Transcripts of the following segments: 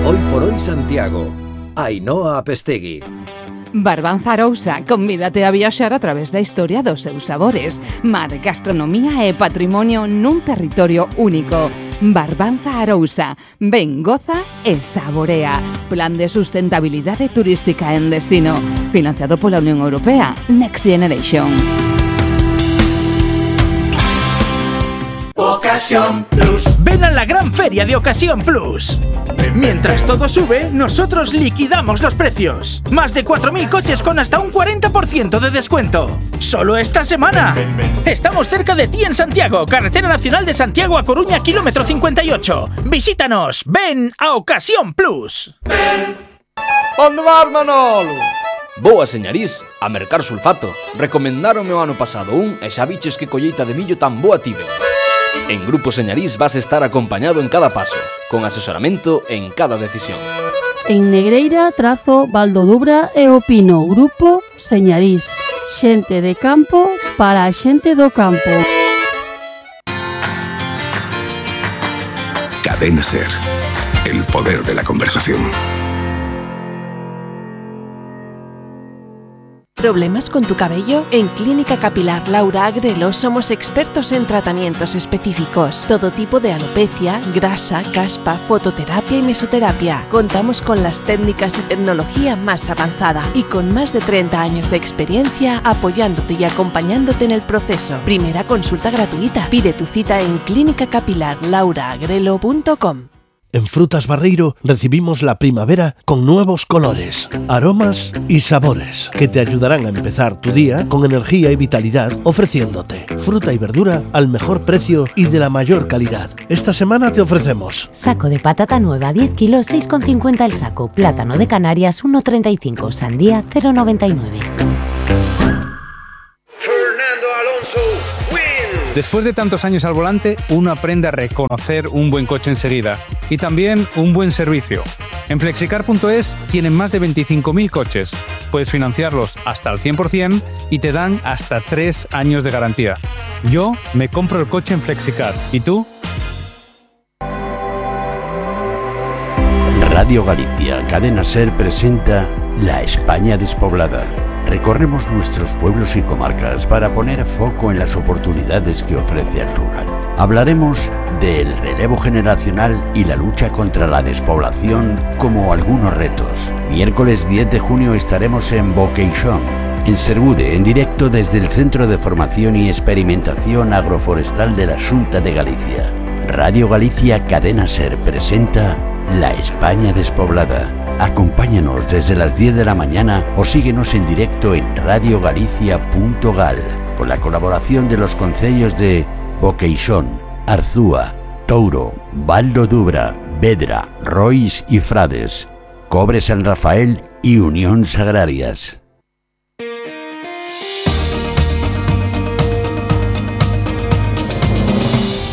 Hoy por hoy Santiago. Ainhoa Apestegui. Barbanza Arousa, convídate a viaxar a través da historia dos seus sabores. Mar, gastronomía e patrimonio nun territorio único. Barbanza Arousa, ven, goza e saborea. Plan de sustentabilidade turística en destino. Financiado pola Unión Europea. Next Generation. Ocasión Plus. Ven a la gran feria de Ocasión Plus. Mientras todo sube, nosotros liquidamos los precios. Más de 4.000 coches con hasta un 40% de descuento. ¡Solo esta semana! Estamos cerca de ti en Santiago, Carretera Nacional de Santiago a Coruña, kilómetro 58. Visítanos, ven a Ocasión Plus. Onde vas, Manolo? Boa, señarís, a mercar sulfato. Recomendáronme o ano pasado e xa viches que colleita de millo tan boa tive. En Grupo Señarís vas a estar acompañado en cada paso, con asesoramento en cada decisión. En Negreira, Trazo, Valdodubra e Opino, Grupo Señarís. Xente de campo para a xente do campo. Cadena SER, el poder de la conversación. ¿Problemas con tu cabello? En Clínica Capilar Laura Agrelo somos expertos en tratamientos específicos. Todo tipo de alopecia, grasa, caspa, fototerapia y mesoterapia. Contamos con las técnicas y tecnología más avanzada y con más de 30 años de experiencia apoyándote y acompañándote en el proceso. Primera consulta gratuita. Pide tu cita en clinicacapilarlauraagrelo.com. En Frutas Barreiro recibimos la primavera con nuevos colores, aromas y sabores que te ayudarán a empezar tu día con energía y vitalidad, ofreciéndote fruta y verdura al mejor precio y de la mayor calidad. Esta semana te ofrecemos saco de patata nueva 10 kilos 6,50 el saco, plátano de Canarias 1,35, sandía 0,99. Después de tantos años al volante, uno aprende a reconocer un buen coche enseguida y también un buen servicio. En Flexicar.es tienen más de 25.000 coches. Puedes financiarlos hasta al 100% y te dan hasta 3 años de garantía. Yo me compro el coche en Flexicar. ¿Y tú? Radio Galicia, Cadena SER presenta La España despoblada. Recorremos nuestros pueblos y comarcas para poner foco en las oportunidades que ofrece el rural. Hablaremos del relevo generacional y la lucha contra la despoblación como algunos retos. Miércoles 10 de junio estaremos en Boqueixón, en Sergude, en directo desde el Centro de Formación y Experimentación Agroforestal de la Xunta de Galicia. Radio Galicia Cadena SER presenta La España despoblada. Acompáñanos desde las 10 de la mañana o síguenos en directo en radiogalicia.gal con la colaboración de los concellos de Boqueixón, Arzúa, Touro, Valdodubra, Vedra, Rois y Frades, Cobre San Rafael y Unións Agrarias.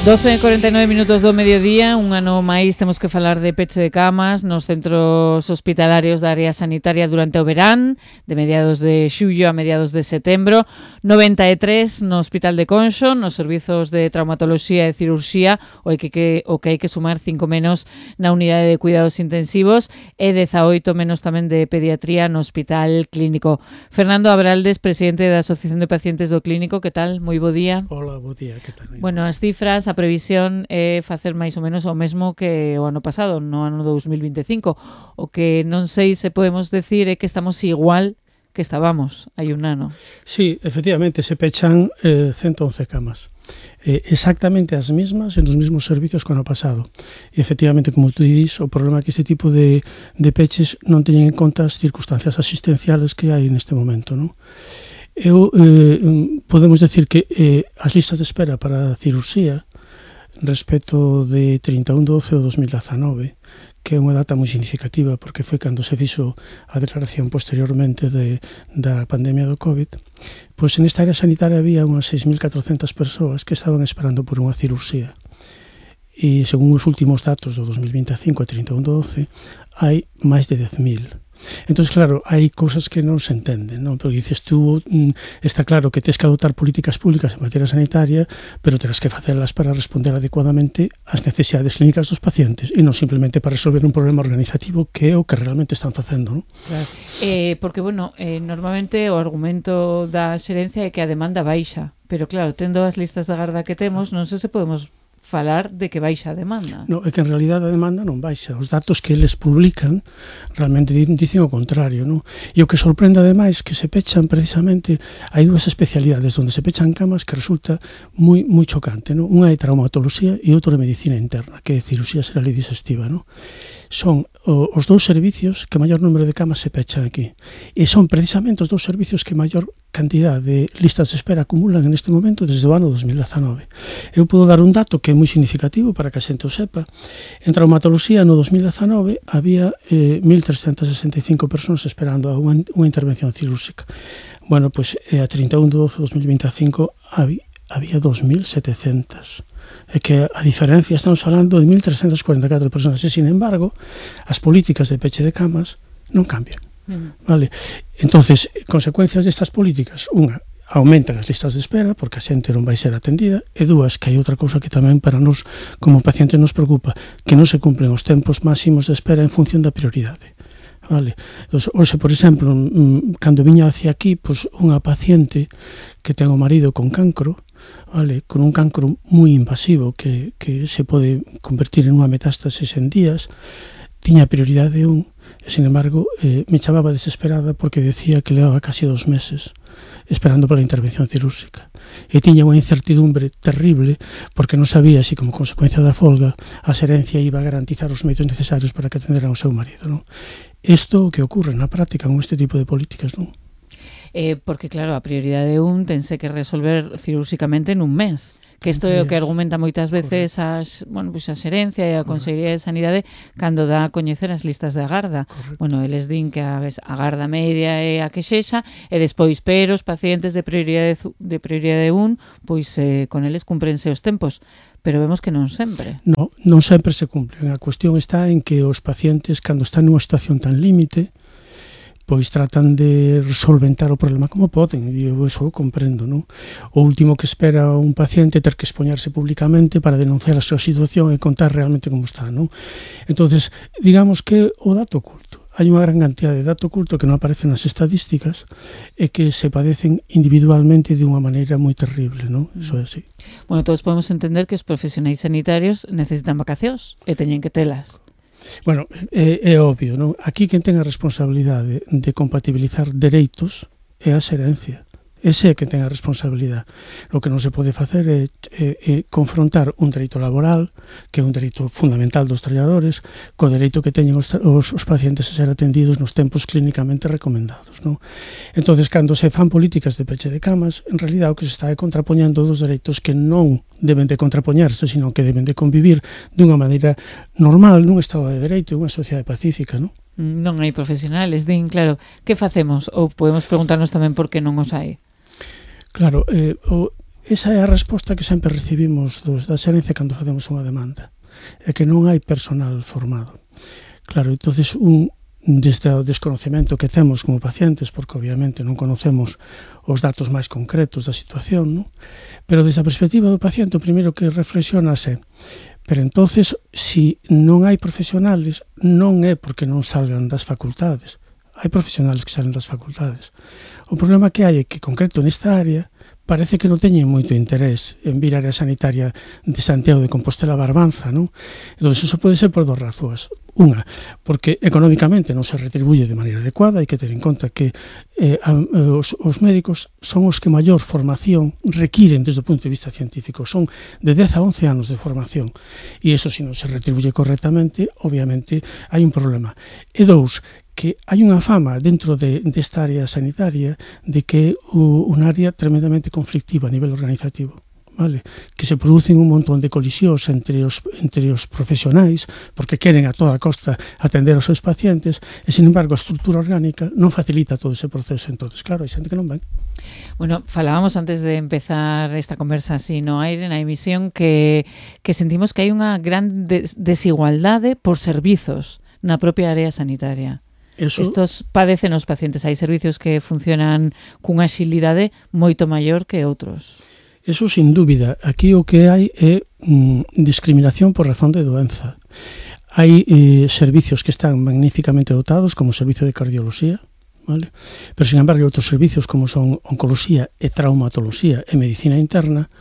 12:49 minutos do mediodía, un ano máis temos que falar de peche de camas nos centros hospitalarios da área sanitaria durante o verán, de mediados de xullo a mediados de setembro, 93 no Hospital de Conxo, nos servizos de traumatoloxía e cirurxía, o que hai que sumar 5 menos na unidade de cuidados intensivos e 18 menos tamén de pediatría no Hospital Clínico. Fernando Abraldes, presidente da Asociación de Pacientes do Clínico, que tal? Moi bo día. Hola, bo día, que tal? Bueno, as cifras, a previsión é facer máis ou menos o mesmo que o ano pasado, no ano 2025. O que non sei se podemos decir é que estamos igual que estábamos hai un ano. Sí, efectivamente, se pechan 111 camas. Exactamente as mesmas en os mesmos servicios que o ano pasado. E efectivamente, como tú dís, o problema é que este tipo de peches non teñen en conta as circunstancias asistenciales que hai neste momento, non? Podemos decir que as listas de espera para a cirurxía respecto de 31/12 de 2019, que é unha data moi significativa porque foi cando se fixo a declaración posteriormente da pandemia do COVID, pois nesta área sanitaria había unhas 6.400 persoas que estaban esperando por unha cirurxía. E según os últimos datos do 2025 a 31/12, hai máis de 10.000. Entón, claro, hai cousas que non se entenden, non? Porque dices tú, está claro que tens que adoptar políticas públicas en materia sanitaria, pero terás que facelas para responder adecuadamente ás necesidades clínicas dos pacientes e non simplemente para resolver un problema organizativo que é o que realmente están facendo, non? Claro. Porque, bueno, normalmente o argumento da xerencia é que a demanda baixa, pero claro, tendo as listas de agarda que temos, non sei se podemos falar de que baixa a demanda. No, é que en realidade a demanda non baixa. Os datos que eles publican realmente dicen o contrario, non? E o que sorprende ademais que se pechan precisamente, hai dúas especialidades onde se pechan camas que resulta moi chocante, non? Unha é traumatoloxía e outra é medicina interna, que é cirurxía xeral e digestiva, non? Son os dous servicios que maior número de camas se pechan aquí. E son precisamente os dous servicios que maior cantidad de listas de espera acumulan en este momento desde o ano 2019. Eu podo dar un dato que é moi significativo para que a xente o sepa. En traumatoloxía no 2019 había 1.365 persoas esperando a unha intervención cirúrxica. Bueno, pois a 31 de 12 de 2025 había 2.700. É que a diferencia, estamos falando de 1.344 persoas e, sin embargo, as políticas de peche de camas non cambian. Vale. Entonces, consecuencias destas políticas, unha, aumentan as listas de espera porque a xente non vai ser atendida, e dúas, que hai outra cousa que tamén para nós como pacientes nos preocupa, que non se cumplen os tempos máximos de espera en función da prioridade. Vale. Entón, hoxe, por exemplo, cando viña hacia aquí, pois unha paciente que ten o marido con cancro, vale, con un cancro moi invasivo que se pode convertir en unha metástasis en días, tiña prioridade 1, e, sin embargo, me chamaba desesperada porque decía que levaba casi 2 meses esperando pola intervención cirúrxica. E tiña unha incertidumbre terrible porque non sabía se, como consecuencia da folga, a xerencia iba a garantizar os medios necesarios para que atenderan ao seu marido, non? Isto o que ocorre na práctica con este tipo de políticas, non? Porque, claro, a prioridade 1 tense que resolver cirúrxicamente nun mes. Que isto é o que argumenta moitas veces a xerencia e a Consellería de Sanidade cando dá a coñecer as listas de agarda. Bueno, eles din que a agarda media é a que sexa e despois, pero os pacientes de prioridade 1, pois con eles cumprense os tempos. Pero vemos que non sempre. Non sempre se cumplen. A cuestión está en que os pacientes, cando están nunha situación tan límite, pois tratan de solventar o problema como poden, e eu iso comprendo, non? O último que espera un paciente é ter que expoñarse públicamente para denunciar a súa situación e contar realmente como está, non? Entonces, digamos que o dato oculto, hai unha gran cantidad de dato oculto que non aparece nas estadísticas e que se padecen individualmente de unha maneira moi terrible, non? Iso é así. Bueno, todos podemos entender que os profesionais sanitarios necesitan vacacións e teñen que telas. Bueno, é obvio, non? Aquí quen ten a responsabilidade de compatibilizar dereitos é a xerencia. Ese é quen ten a responsabilidade. O que non se pode facer é confrontar un dereito laboral, que é un dereito fundamental dos traballadores, co dereito que teñen os pacientes a ser atendidos nos tempos clínicamente recomendados, non? Entonces, cando se fan políticas de peche de camas, en realidad o que se está é contrapoñendo dos dereitos que non deben de contrapoñarse, sino que deben de convivir dunha maneira normal nun estado de dereito e unha sociedade pacífica, non? Non hai profesionales, din, claro, que facemos? Ou podemos preguntarnos tamén por que non os hai? Claro, esa é a resposta que sempre recibimos da xerencia cando facemos unha demanda, é que non hai personal formado. Claro, entonces desde o desconocemento que temos como pacientes, porque obviamente non conocemos os datos máis concretos da situación, non? Pero desde a perspectiva do paciente, o primeiro que reflexiona é, pero entonces, se non hai profesionales, non é porque non salgan das facultades. Hai profesionales que salen das facultades. O problema que hai é que, concreto nesta área, parece que non teñen moito interés en vir á área sanitaria de Santiago de Compostela Barbanza, non? Entón, iso pode ser por 2 razóns. Unha, porque económicamente non se retribuye de maneira adecuada, hai que ter en conta que os médicos son os que maior formación requiren desde o punto de vista científico, son de 10 a 11 anos de formación, e iso se non se retribuye correctamente, obviamente hai un problema. E 2, que hai unha fama dentro desta área sanitaria de que é unha área tremendamente conflictiva a nivel organizativo, vale? Que se producen un montón de colisións entre os profesionais porque queren a toda costa atender aos seus pacientes e, sin embargo, a estrutura orgánica non facilita todo ese proceso. Entonces, claro, hai xente que non ven. Bueno, falábamos antes de empezar esta conversa así no aire, na emisión, que sentimos que hai unha gran desigualdade por servizos na propia área sanitaria. Estos padecen os pacientes. Hai servicios que funcionan cunha axilidade moito maior que outros. Eso sin dúbida. Aquí o que hai é discriminación por razón de doenza. Hai servicios que están magníficamente dotados, como o servicio de cardioloxía, vale? Pero, sin embargo, hai outros servicios como son oncoloxía e traumatoloxía e medicina interna,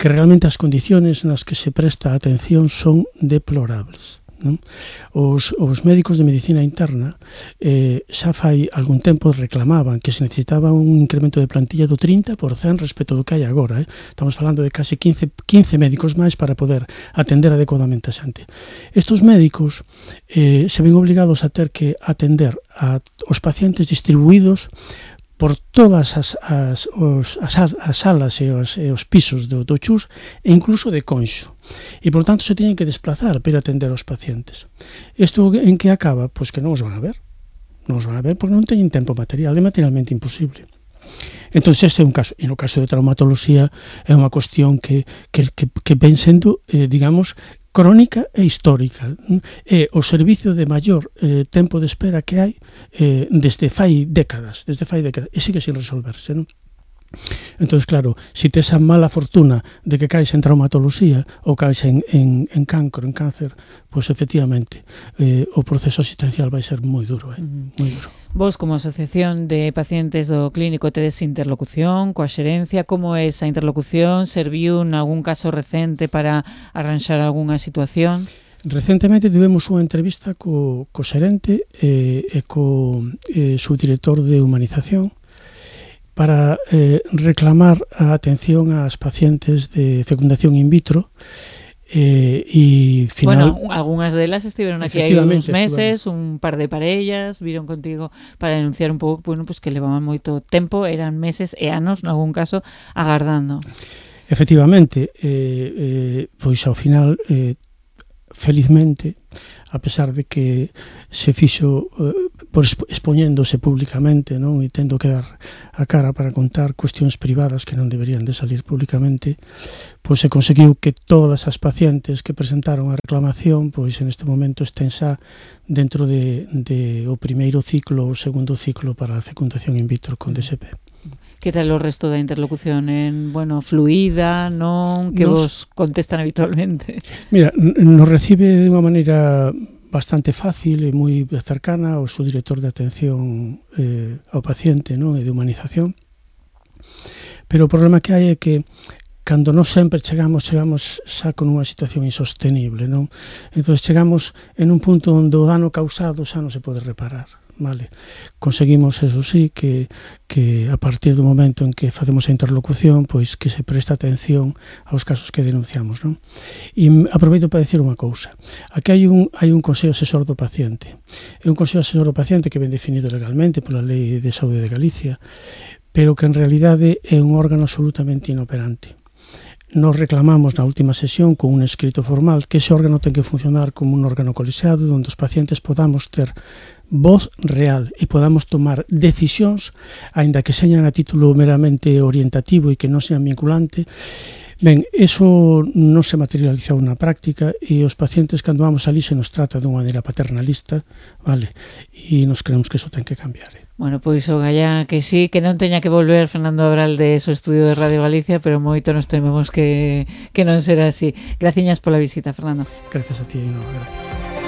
que realmente as condiciones nas que se presta atención son deplorables. Non? Os médicos de medicina interna xa fai algún tempo reclamaban que se necesitaba un incremento de plantilla do 30% respecto do que hai agora. Estamos falando de case 15 médicos máis para poder atender adecuadamente a xente. Estos médicos se ven obligados a ter que atender aos pacientes distribuídos por todas as salas e os pisos do CHUS e incluso de Conxo. E, por tanto, se teñen que desplazar para atender aos pacientes. Isto en que acaba? Pois que non os van a ver. Non os van a ver porque non teñen tempo material, é materialmente imposible. Entón, este é un caso. E no caso de traumatoloxía é unha cuestión que ven sendo, digamos, crónica e histórica. É o servicio de maior tempo de espera que hai desde fai décadas, e sigue sin resolverse, non? Entón, claro, se tes a mala fortuna de que caes en traumatoloxía ou caes en cancro, en cáncer, pois efectivamente o proceso asistencial vai ser moi duro, moi duro. Vos, como asociación de pacientes do clínico, tedes interlocución coa xerencia? Como é esa interlocución? Serviu en algún caso recente para arranxar algunha situación? Recentemente tivemos unha entrevista co xerente e co subdirector de humanización para reclamar a atención ás pacientes de fecundación in vitro. Bueno, algunhas delas estiveron aquí hai uns meses, un par de parellas viron contigo para denunciar un pouco, bueno, pues que levaban moito tempo, eran meses e anos, en algún caso, agardando. Efectivamente, pois ao final, felizmente, a pesar de que se fixo por expoñéndose públicamente, non, e tendo que dar a cara para contar cuestións privadas que non deberían de salir públicamente, pois se conseguiu que todas as pacientes que presentaron a reclamación, pois en este momento estén xa dentro de o primeiro ciclo ou segundo ciclo para a fecundación in vitro con DSP. Que tal o resto da interlocución? Fluida, non? Que vos contestan habitualmente? Mira, nos recibe de unha maneira bastante fácil e moi cercana o subdirector de atención ao paciente, non, e de humanización. Pero o problema que hai é que cando non sempre chegamos xa con unha situación insostenible, non? Entón chegamos en un punto onde o dano causado xa non se pode reparar. Vale. Conseguimos, eso sí, que a partir do momento en que facemos a interlocución, pois que se presta atención aos casos que denunciamos, non? E aproveito para decir unha cousa. Aquí hai un Consello Asesor do Paciente. É un Consello Asesor do Paciente que ven definido legalmente pola Lei de Saúde de Galicia, pero que en realidade é un órgano absolutamente inoperante. Nos reclamamos na última sesión con un escrito formal que ese órgano ten que funcionar como un órgano colexiado onde os pacientes podamos ter voz real e podamos tomar decisións, aínda que señan a título meramente orientativo e que non sean vinculante. Ben, eso non se materializou na práctica e os pacientes, cando vamos ali, se nos trata dunha maneira paternalista, vale? E nos creemos que eso ten que cambiar. Bueno, pois o gallá que sí, que non teña que volver Fernando Abral de su estudio de Radio Galicia, pero moito nos tememos que non será así. Graciñas pola visita, Fernando. Gracias a ti, gracias.